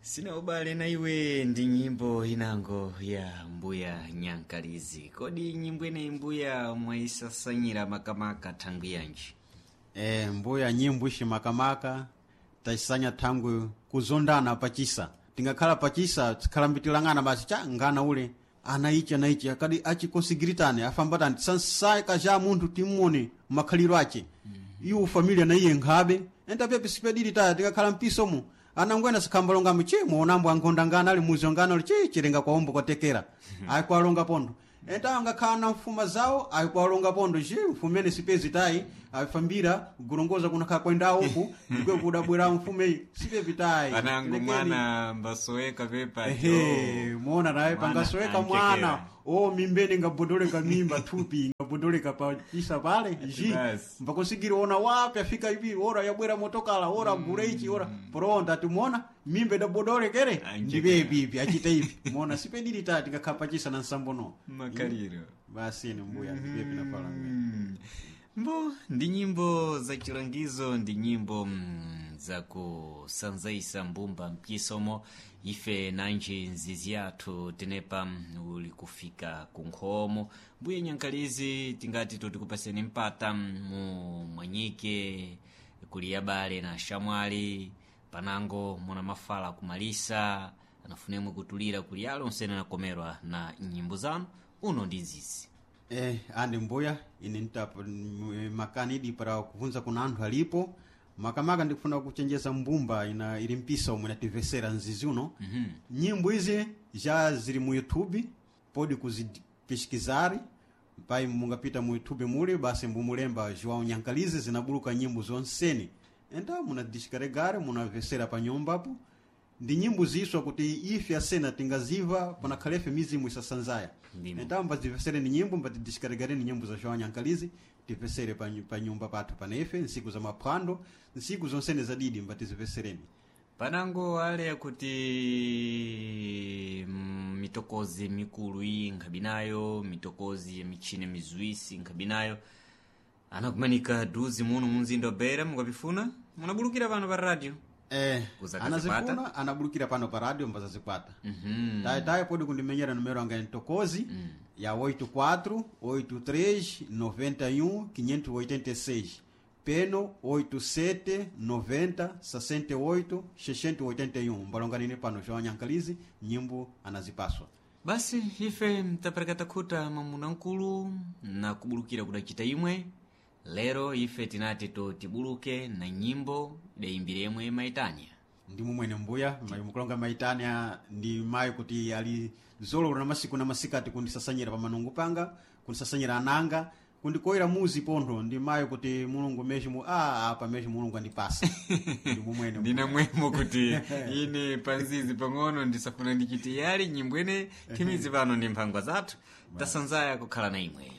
Sina ubale na iwe ndi nyimbo inango ya mbuya Nyankalizi. Kodi nyimbo ineyi mbuya mwaisasanyira makamaka thangwi yanji? Mbuya nyimbo ishi makamaka tacisanya thangwi kuzondana pachisa. Tingakhala pachisa tikhalambitilang'ana basi cha ngana ule ana ichi ana ichi akadi achikonsigiritane afambatani tisansaka cha munthu timmone makhaliro ace. Iwo familia na iye nkhabe entapepi sipedili taya tikakhala mpisomo anangwena sikhambalongamo chi muonambo ankhonda ngana ali muzi ngana ali chi chilenga kwaombo kwatekera ayikwalonga pondo enta angakhala na mfuma zawo ayikwalonga pondo chi mfumene sipezi tayi ayifambira kulongoza kunakhala kwenda uku ndikwe kudabwera mfume sipepi tayi. Panango Tilekeni. mwana mbasoweka pepa. Ehe, muona naye Mwana pangasoweka anchekera. mwana o mimbene ngabodoleka mimba thupi ngabodoleka pachisa pale ji Basi. mbakusigiri ona wapi afika ipi ora yabwera motokala ora gule ichi ora pronda timuona mimba idabodolekere Anchekera. ndipepi ipi achita ipi muona sipedili tati ngakhala pachisa na nsambono Makaliro. basi ni mbuya ndipepi nafala. Mbo ndi nyimbo za chilangizo, ndi nyimbo za kusanzaisa mbumba mchisomo. Ife nanji nzizi yathu tenepa uli kufika kunkhomo. Mbuye Nyankalizi, tingati totikupaseni mpata mu mwanyike kuli abale na shamwali panango muna mafala kumalisa anafunemwe kutulira kuli alo nsene nakomerwa na nyimbo zanu uno ndi nzizi. Andi mbuya ine nitapa makani idi para kuvunza kuna anthu alipo makamaka ndikufuna kuchenjeza mbumba ina ili mpisa omwe inativesera nzizi uno. Nyimbo izi já zili mu YouTube podi kuzipishikizari pai mungapita mu YouTube muli basi mbumulemba João Nyankalizi zinabuluka nyimbo zonseni enta munadisikaregare munavesera pa nyumbapo ndi nyimbo ziswa kuti ife asena tingaziva panakhalefe mizimu isasanzaya. Ndimo. Então mbazivesere ni nyimbo mbatidiskaregare ni nyimbo za João Nyankalizi tivesere pa nyumba pathu panefe nsiku za maphwando nsiku zonsene zadidi mbatizivesereni. Panango ale yakuti mitokozi mikulu iyi nkhabinayo mitokozi ya michini mizuisi nkhabinayo anakumanika duzi muno munzinda wa Beira mukapifuna munabulukira pano pa radio. Kuzakazikwata? Anazifuna anabulukira pano pa radio mbazazikwata. Tayi podi kundimenyera numero anga ntokozi ya 84 83 91 586 peno 87 90 68 681 mbalonganine pano João Nyankalizi nyimbo anazipaswa. Basi ife mtaperekata khuta mwamuna mkulu na kubulukira kudacita imwe lero ife tinati totibuluke na nyimbo idayimbire imwe maitanya. Ndi mumwene mbuya mukulonga maitanya ndi mayi kuti ali zololo na masiku na masikati kundisasanyira pa manungu panga kundisasanyira ananga kundikoyera muzi pontho ndi mayi kuti mulungu mesmo apa mesmo mulungu andipasa ndi mumwene. Ndina mwemo kuti ine panzizi pang'ono ndisafuna ndichite yali nyimbo ine thimizi pano ndi mphangwa zathu tasanzaya kukhala na imwe.